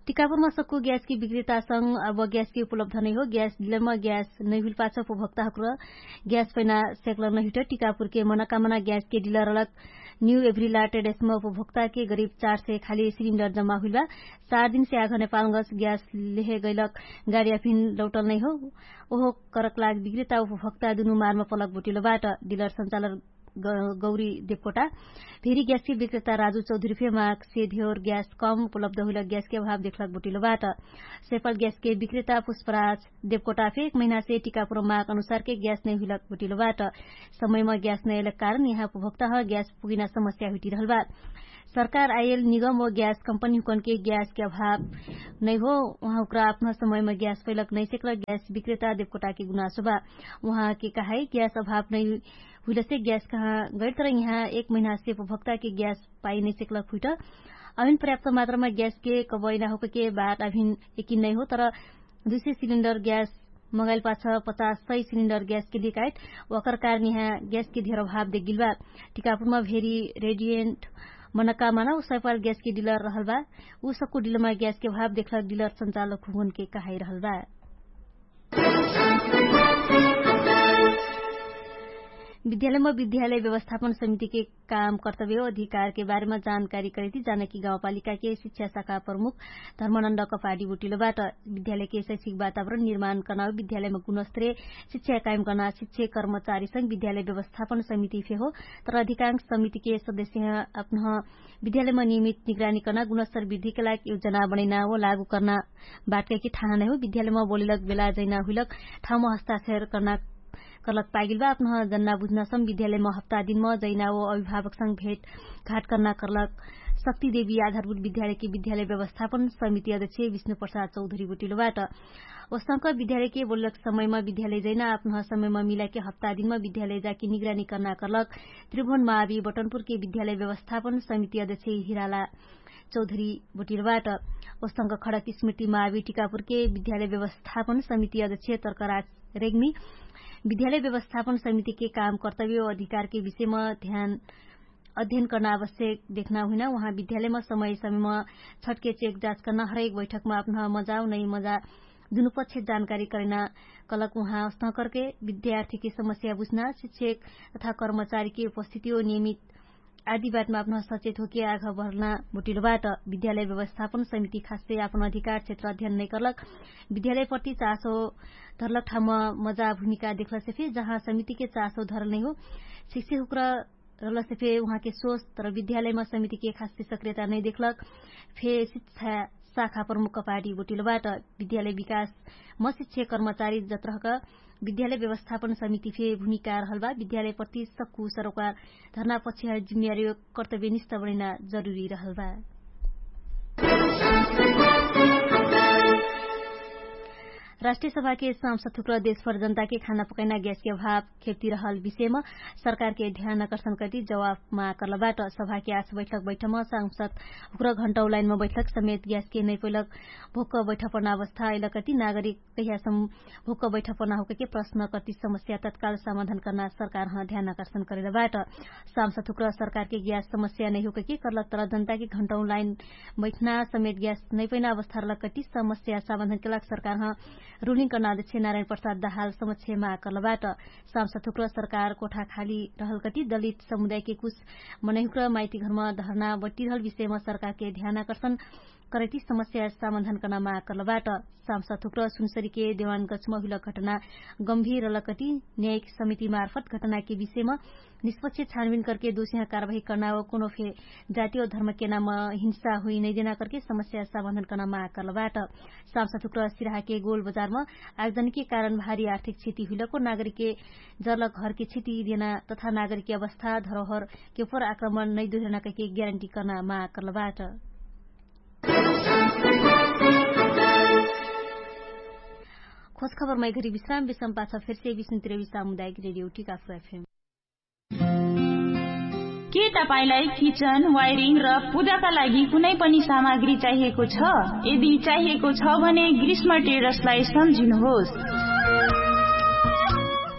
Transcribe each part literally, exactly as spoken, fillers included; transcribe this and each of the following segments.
टिकापुरमा सक्कु ग्यासके विक्रेतासँग अब ग्यासके उपलब्ध नैहो ग्यास डिलरमा ग्यास नैहुइल पाछ उपभोक्ताहुक्र ग्यास पैना सेक्ल नैहुइट टिकापुरके मनकामना ग्यासके डिलर अलग न्यू एभ्रिला ट्रेडेसमा उपभोक्ताके गरिब चार सय खाली सिलिन्डर जम्मा हुइलबा। चार दिनसे आघ नेपालगस ग्यास लेहे गैलक गाडियाफिन लौटल नैहो। ओहो करकलाग विक्रेता उपभोक्ता दुनु मारमा पलक बोटिलो बाट डिलर सञ्चालक गौरी देवकोटा। भेरी ग्यासके विक्रेता राजु चौधरी फे माग से धेवर ग्यास कम उपलब्ध हुइल ग्यासके अभाव देखलक बोटिलो बाट। सैपाल ग्यासके विक्रेता पुष्पराज देवकोटा फे एक महिनासे टिकापुर माग अनुसारके ग्यास नै हुइलक बोटिलो बाट। समयमा ग्यास नै अइलक कारण यहाँ उपभोक्ता ह ग्यास पुगिना समस्या हुइटिरहल बा। सरकार आइल निगम व ग्यास कम्पनी हुकनके ग्यासके अभाव नै हो। उहाँ उक्रा अपना समयमा ग्यास पैलक नैसेकलक ग्यास विक्रेता देवकोटाके गुनासो बा। उहाँके कहाई ग्यास अभाव नै हुइलसे ग्यास कहाँ गैर तर यहाँ एक महिनासे उपभोक्ताके ग्यास पाइ नैसेकलक हुइट। अभिन पर्याप्त मात्रामा ग्यासके कबैना होकके बाट अभिन एकिन नै हो तर दुई सय सिलिन्डर ग्यास मगाइल पाछ पचास सय सिलिन्डर ग्यासके लिकाइत। ओकर कारण यहाँ ग्यासके धेर अभाव देखगिल बा। टिकापुरमा भेरी रेडियन्ट मनकामना उ सैपाल ग्यासके डिलर रहल बा। उ सक्कु डिलरमा ग्यासके अभाव देखलक डिलर सञ्चालक हुगुनके कहाइरहल बा। विद्यालयमा विद्यालय व्यवस्थापन समितिके काम कर्तव्य अधिकारके बारेमा जानकारी करैती जानकी गाउँपालिकाके शिक्षा शाखा प्रमुख धर्मनन्द कपाडी बोटिलो बाट। विद्यालयके शैक्षिक वातावरण निर्माण कर्ना विद्यालयमा गुणस्तरे शिक्षा कायम कर्ना शिक्षक कर्मचारीसँग विद्यालय व्यवस्थापन समिति फे हो। तर अधिकांश समितिके सदस्य अपनह विद्यालयमा नियमित निगरानी कर्ना गुणस्तर वृद्धिके लागि योजना बनैना व लागू कर्ना बाटकैके ठाना नै हो। विद्यालयमा बोलेलक बेला जैना हुइलक ठाउँमा हस्ताक्षर कर्ना कर्लक पागिल बा। अपनह जन्ना बुझ्ना सम विद्यालयमा हप्ता दिनमा जैना व अभिभावकसँग भेट घाट कर्ना कर्लक शक्ति देवी आधारभूत विद्यालयके विद्यालय व्यवस्थापन समिति अध्यक्ष विष्णु प्रसाद चौधरी बोटिलो बाट। ओसंक विद्यालयके बोलक समयमा विद्यालय जैना अपनह समयमा मिलाके हप्ता दिनमा विद्यालय जाके निगरानी कर्ना कर्लक त्रिभुवन मावी बटनपुरके विद्यालय व्यवस्थापन समिति अध्यक्ष हिराला चौधरी बोटिलो बाट। ओसंक खडक स्मृति मावी टिकापुरके विद्यालय व्यवस्थापन समिति अध्यक्ष तर्कराज रेग्मी विद्यालय व्यवस्थापन समितिके काम कर्तव्य अधिकारके विषयमा ध्यान अध्ययन कर्ना आवश्यक देखना हुइना। उहाँ विद्यालयमा समय समयमा छटके चेक जाँच कर्ना हरेक बैठकमा अपनह मजाउ नै मजा दुनुपक्ष जानकारी करैना कलक उहाँ अस्तह करके विद्यार्थीके समस्या बुझ्ना शिक्षक तथा कर्मचारीके उपस्थिति हो नियमित आदि बाटमा अपनह सचेत होके आघ भर्ना बोटिलो बाट। विद्यालय व्यवस्थापन समिति खाससे अपन अधिकार क्षेत्र अध्ययन नै कर्लक विद्यालय प्रति चासो धर्लक ठाउँमा मजा भूमिका देखलसे फे जहाँ समितिके चासो धर्ल नै हो। शिक्षक हुक्र रहलसे फे उहाँके सोच तर विद्यालयमा समितिके खाससे सक्रियता नै देखलक फे शिक्षा शाखा प्रमुख कपाटी बोटिलो बाट। विद्यालय विकासमा शिक्षक कर्मचारी जत्रहक विद्यालय व्यवस्थापन समिति फे भूमिका रहल बा। विद्यालय प्रति सक्कु सरोकार धर्ना पक्षिया जिम्मेवारी कर्तव्य निष्ठ बनैना जरुरी रहल बा। राष्ट्रिय सभाके सांसद थुक्र देशभर जनताके खाना पकैना ग्यासके अभाव खेप्ति रहल विषयमा सरकारके ध्यान आकर्षण कति जवाफमा कर्लबाट। सभाके आस बैठक बैठमा सांसद हुक्र घण्टौ लाइनमा बैठक समेत ग्यासके नैपैलक भोक्क बैठपन अवस्था अइलकति नागरिक कहियासम भोक्क बैठपन होकके प्रश्न कति समस्या तत्काल समाधान कर्ना सरकारह ध्यान आकर्षण करेलबाट। सांसद हुक्र सरकारके ग्यास समस्या नैहोकके कर्लक तर जनताके घण्टौ लाइन बैठना समेत ग्यास नैपैना अवस्था रहलक कति समस्या समाधान केलक सरकारह रुलिङ कर्ना अध्यक्ष नारायण प्रसाद दहाल समक्ष माग कर्लबाट। सांसद हुक्र सरकार कोठा खाली रहलकति दलित समुदायके कुछ मनैहुक्र माइती घरमा धर्ना बट्टिरहल विषयमा सरकारके ध्यान आकर्षण करैति समस्या समाधान कर्ना माग कर्लबाट। सांसद हुक्र सुनसरीके देवान गछमा हुइलक घटना गम्भीर रहलकति न्यायिक समिति मार्फत घटनाके विषयमा निष्पक्ष छानबिन करके दोषिहा कारवाही कर्ना व कोनो फे जाति व धर्मके नाम हिंसा हुइ नैदेना करके समस्या समाधान कर्ना माग कर्लबाट। सांसद हुक्र सिराहाके गोल बजारमा आगजनीके कारण भारी आर्थिक क्षति हुइलको नागरिकके जर्लक घरके क्षति देना तथा नागरिकके अवस्था धरोहरके उपर आक्रमण नैदोहरना कहिके ग्यारेन्टी कर्ना माग कर्लबाट। खोज खबरमै घरी विश्राम विश्राम पाछ फेर्से विष्णुतिर विश्राम मुदायक रेडियो टिकाफुर एफएम। के तपाईंलाई किचन वायरिङ र पूजाका लागि कुनै पनि सामग्री चाहिएको छ? यदि चाहिएको छ भने ग्रीष्म टेडर्सलाई सम्झिनुहोस्।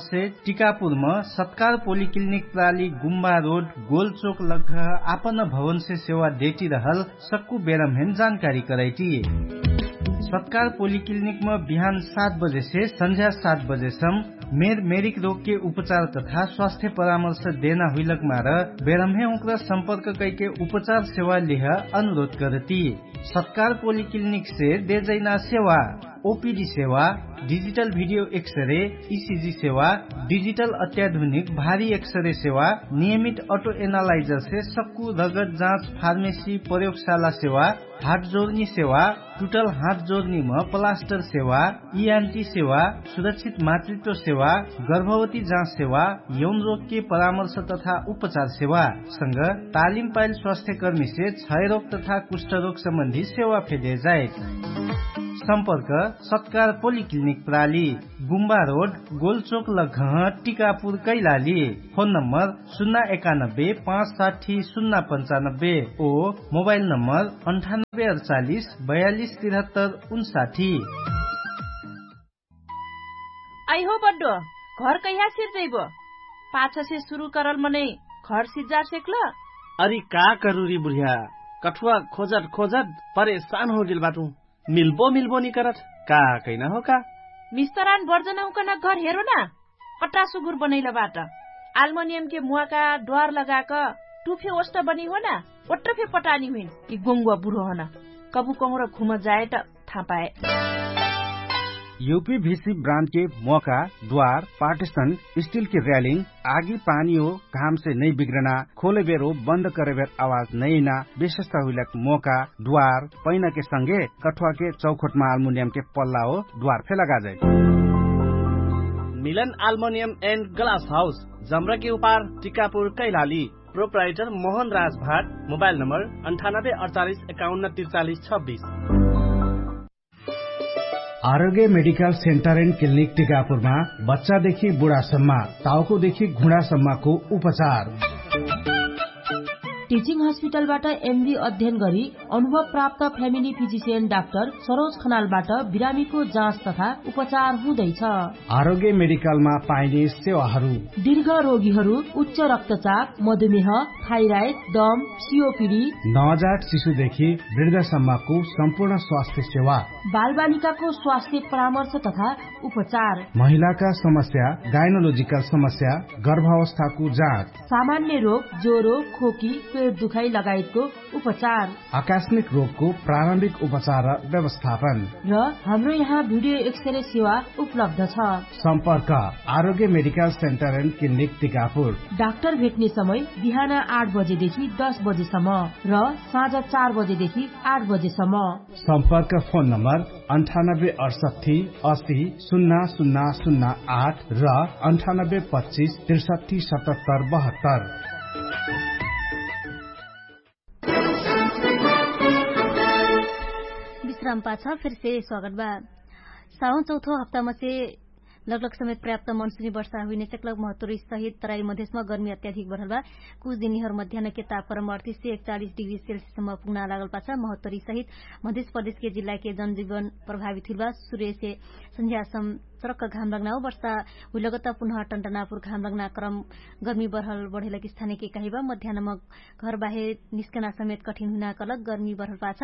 नेपालसे टिकापुरम सत्कार पोलिक्लिनिक प्राली गुम्बा रोड गोलचोक लग्घह आपन भवनसे सेवा देटिरहल सक्कु बेरमहेन जानकारी करैटिए। सत्कार पोलिक्लिनिकमा बिहान सात बजेसे सन्झ्या सात बजेसम मेर मेरिक रोगके उपचार तथा स्वास्थ्य परामर्श देना हुइलक मार बेरम्हे उक्रा सम्पर्क कैके उपचार सेवा लिह अनुरोध करती। सत्कार पोलिक्लिनिकसे देजैना सेवा ओपिडी सेवा, डिजिटल भिडियो एक्सरे, इसिजी सेवा, डिजिटल अत्याधुनिक भारी एक्सरे सेवा, नियमित अटो एनालाइजरसे सक्कु रगत जाँच फार्मेसी प्रयोगशाला सेवा, हाटजोर्नी सेवा, टुटल हाटजोर्नीम प्लास्टर सेवा, इयान्टी सेवा, सुरक्षित मातृत्व सेवा, गर्भवती जाँच सेवा, यौन रोगके परामर्श तथा उपचार सेवा संग तालिम पाइल स्वास्थ्यकर्मीसे क्षयरोग तथा कुष्ठरोग सम्बन्धी सेवा फेले जाए। सम्पर्क सत्कार पोलिक्लिनिक प्राली, गुम्बा रोड, गोलचोक लग्घह, टिकापुर कैलाली। फोन नम्बर सुन्ना एकानब्बे पाँच साठी सुन्ना पन्चानब्बे ओ मोबाइल नम्बर अन्ठानब्बे अडचालिस बयालिस तिरहत्तर उन्साठी। आइहो बड्डो, घर कैहा सिर्जैबो? पाछसे सुरु करल मनै घर सिज्जार सेक्ल? अरि का करुरी बुढिया, कठुवा खोजत खोजत परेशान होगेल बाटु। मिल्बो मिल्बो निकरत, का कैना हो का? मिस्तरान बर्जन हुकन घर हेरो ना। कट्टा सुगुर बनैल बाट। आल्मनियमके मुवाका द्वार लगाक टुफे ओष्ट बनी हो ना। ओट्ट फे पटानी हुइन कि गोङ्गुवा बुढो हन। कबु कहुँर घुम जाए त थापाए। युपी भिसी ब्रान्डके मोका द्वार पार्टिसन स्टिलके र्यालिङ आगी पानी हो घामसे नै बिग्रना खोलेबेर हो बन्द करेबेर आवाज नैना विशेषता हुइलक मोका द्वार पैनाके संगे कठुवाके चौखोटमा आल्मुनियमके पल्ला हो द्वार फे लगाजै। मिलन आल्मोनियम एन्ड ग्लास हाउस जम्रकी उपार टिकापुर कैलाली। प्रोप्राइटर मोहन राज भाट। मोबाइल नम्बर अन्ठानब्बे अडचालिस एकाउन्न तिरचालिस छब्बिस। आरोग्य मेडिकल सेन्टर एन्ड क्लिनिक टिकापुरमा बच्चादेखि बुढासम्म, ताउकोदेखि घुँडासम्मको उपचार। टिचिङ हस्पिटलबाट एमबी अध्ययन गरी अनुभव प्राप्त फ्यामिली फिजिसियन डाक्टर सरोज खनालबाट बिरामीको जाँच तथा उपचार हुँदैछ। आरोग्य मेडिकलमा पाइने सेवाहरू। दीर्घ रोगीहरू, उच्च रक्तचाप, मधुमेह, थाइराइड, दम, सिओपिडी, नवजात शिशुदेखि वृद्धसम्मको सम्पूर्ण स्वास्थ्य सेवा। बालबालिकाको स्वास्थ्य परामर्श तथा उपचार। महिलाका समस्या, गाइनोलोजिकल समस्या, गर्भावस्थाको जाँच। सामान्य रोग, ज्वरो, खोकी, पेट दुखाइ लगायतको उपचार। आकस्मिक रोगको प्रारम्भिक उपचार र व्यवस्थापन। र हाम्रो यहाँ भिडियो एक्सरे सेवा उपलब्ध छ। सम्पर्क आरोग्य medical centre and clinic Tikapur. Doctor भेट्ने समय बिहान आठ बजेदेखि दस बजेसम्म र साँझ चार बजेदेखि आठ बजेसम्म। सम्पर्क फोन नम्बर अन्ठानब्बे अडसट्ठी असी सुन्ना सुन्ना सुन्ना आठ र अन्ठानब्बे पच्चिस त्रिसट्ठी सतहत्तर बहत्तर। विश्राम पाछ फेरसे स्वागत बा। साउन चौथो हप्तामसे लगलग समेत पर्याप्त मनसुनी वर्षा हुइने सेक्लक महत्वरी सहित तराई मधेसमा गर्मी अत्याधिक बढल बा। कुछ दिनीहरु मध्यानके तापक्रम अडतिस से एकचालिस डिग्री सेल्सियससम्म पुग्ना लागल पाछ महत्वरी सहित मधेस प्रदेशके जिल्लाके जनजीवन प्रभावित हुइल बा। सुर्यसे सन्ध्यासम चरक्क घाम लग्ना हो वर्षा हुइलगत पुनः टन्टनापुर घाम लग्ना क्रम गर्मी बढल बढेलक स्थानिके कहिबा। मध्यानम घरबाहे निस्कना समेत कठिन हुइना कलक गर्मी बढल पाछ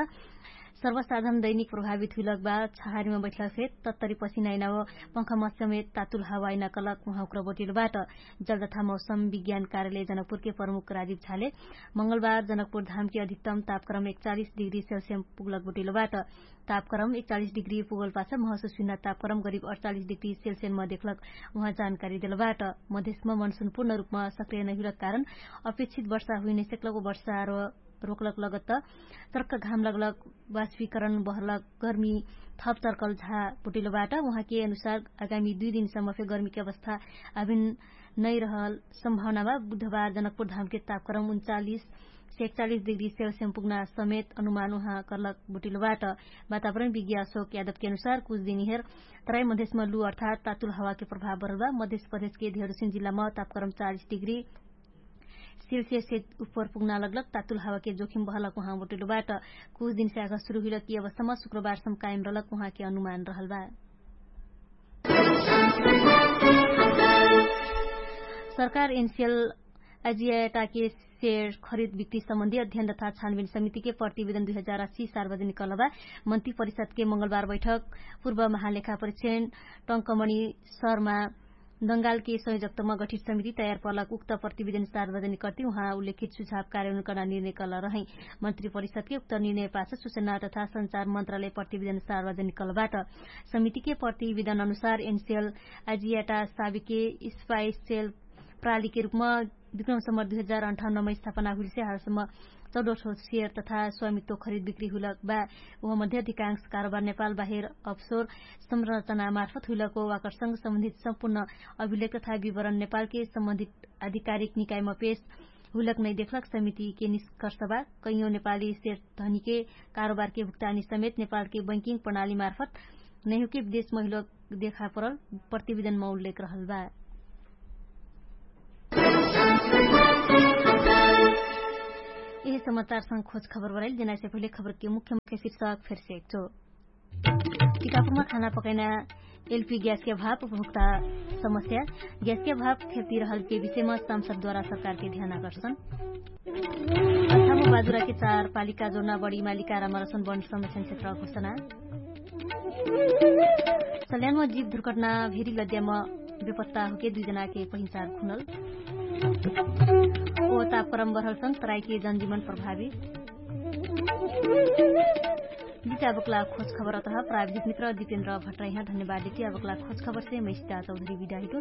सर्वसाधन दैनिक प्रभावित हुइलक बा। छहारीमा बैठलक फेर तत्तरी पसिनाइना हो पंखा मस्यमे तातुल हवाइना कलक उहाँ उक्र बोटिलो बाट। जल तथा मौसम विज्ञान कार्यालय जनकपुरके प्रमुख राजीव झाले मंगलबार जनकपुर धामके अधिकतम तापक्रम एकचालिस डिग्री सेल्सियम पुगलक बोटिलो बाट। तापक्रम एकचालिस डिग्री पुगल पाछ महसुस हुइना तापक्रम गरिब अडचालिस डिग्री सेल्सियम म देखलक उहाँ जानकारी देलो बाट। मधेसमा मनसुन पूर्ण रुपमा सक्रिय नहिलक कारण अपेक्षित वर्षा हुइने सेक्लक वर्षा र रोकलक लगत चर्क घाम लगलक वास्वीकरण बहलक गर्मी थप चर्कल झा पुटिलो बाट। उहाँके अनुसार आगामी दुइ दिनसम्म फे गर्मीके अवस्था अभिन नै रहल सम्भावना बा। बुधबार जनकपुर धामके तापक्रम उन्चालिस से एकचालिस डिग्री सेल्सियम पुग्ना समेत अनुमान उहाँ कर्लक बुटिलो बाट। वातावरण विज्ञा अशोक यादवके अनुसार कुछ दिनिहेर तराई मधेसमा लु अर्थात तातुल हवाके प्रभाव बरल बा। मधेस प्रदेशके धेरुसिन जिल्लामा तापक्रम चालिस डिग्री सेल्सियस से उपर पुग्ना लगलक तातुल हवाके जोखिम बहलक उहाँ बुटिलो बाट। कुछ दिनसे आगा सुरु हुइलक यी अवस्थामा सुक्रबारसम कायम रहलक उहाँके अनुमान रहल बा। सरकार एनसिएल आजियाटाके सेयर खरिद बिक्री सम्बन्धी अध्ययन तथा छानबिन समितिके प्रतिवेदन दुई हजार अस्सी सार्वजनिक कलबा। मन्त्री परिषदके मंगलबार बैठक पूर्व महालेखा परिक्षण टंकमणि शर्मा दंगालके संयोजकतमा गठित समिति तयार पलक उक्त प्रतिवेदन सार्वजनिक कर्ति उहाँ उल्लेखित सुझाव कार्यानुकरण निर्णय कल रहै। मन्त्री परिषदके उक्त निर्णय पाछ सुचना तथा संचार मन्त्रालय प्रतिवेदन सार्वजनिक कलबाट। समितिके प्रतिवेदन अनुसार एनसेल आजियाटा साबिके स्पाइसेल प्रालीके रूपमा विक्रम सम्बर दुई हजार अन्ठाउन्नमा स्थापना हुइलसे हालसम्म चौडो ठो सेयर तथा स्वामित्व खरिद बिक्री हुइलक बा। उहाँ मध्ये अधिकांश कारोबार नेपाल बाहेर अफसोर संरचना मार्फत हुइलको वाकरसँग सम्बन्धित सम्पूर्ण अभिलेख तथा विवरण नेपालके सम्बन्धित आधिकारिक निकायमा पेश हुइलक नै देखलक। समितिके निष्कर्ष बा कैयौं नेपाली सेयर धनीके कारोबारके भुक्तानी समेत नेपालके बैंकिङ प्रणाली मार्फत नैहुके विदेश महिलो देखा परल प्रतिवेदनमा उल्लेख रहल बा। यही समाचारसँग खोज खबर बराइल जेनाइसे पहिले खबरके मुख्य मुख्य शीर्षक फेरसे एक छो। टिकापुरमा खाना पकैना एलपी ग्यासके भाव उपभोक्ता समस्या, ग्यासके भाव खेप्ती रहलके विषयमा सांसदद्वारा सरकारके ध्यान आकर्षण। अछामो बाजुराके चार पालिका जोडना बढी मालिका रामारसन बन्ड संरक्षण क्षेत्र घोषणा। सल्यानमा जीव दुर्घटना भेरी लद्यामा बेपत्ता होके दुई जनाके पहिचार खुनल। ओ तापक्रम बढलसँग तराइके जनजीवन प्रभावी। बिचाबकला खोज खबर अतह प्राविधिक मित्र दिपेन्द्र भट्राइहा धन्यवाद देती अबकला खोज खबरसे मैसिता चौधरी बिदाहिटु।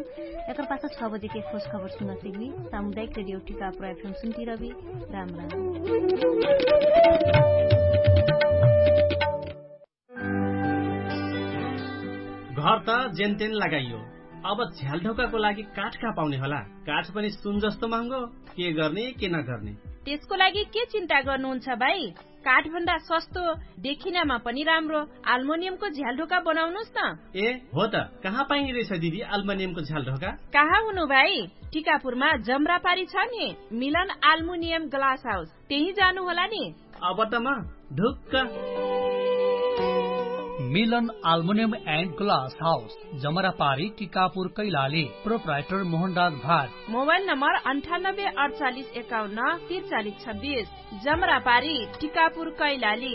एकर पाछ छ बजेके खोज खबर सुनसे हुई। सामुदायिक रेडियो टिका प्रयाफेम सुन्ती रबी। राम राम। घर त जेनतेन लगाइयो। अब झ्यालढोकाको लागि काठ कहाँ पाउने होला? काठ पनि सुन जस्तो महँगो। के गर्ने के नगर्ने? त्यसको लागि के चिन्ता गर्नुहुन्छ भाइ? काठभन्दा सस्तो, देखिनामा पनि राम्रो आल्मोनियमको झ्यालढोका बनाउनुस् न। ए हो त, कहाँ पाइने रहेछ दिदी आल्मोनियमको झ्यालढोका? कहाँ हुनु भाइ? टिकापुरमा जम्रापारी छ नि, मिलन आल्मुनियम ग्लास हाउस, त्यही जानु होला नि। अब त म ढुक्क। मिलन आल्मुनियम एन्ड ग्लास हाउस, जमरापारी टिकापुर कैलाली। प्रोप्राइटर मोहनराज भाट। मोबाइल नम्बर अन्ठानब्बे अडचालिस एकाउन्न तिरचालिस छब्बिस। जमरापारी टिकापुर कैलाली।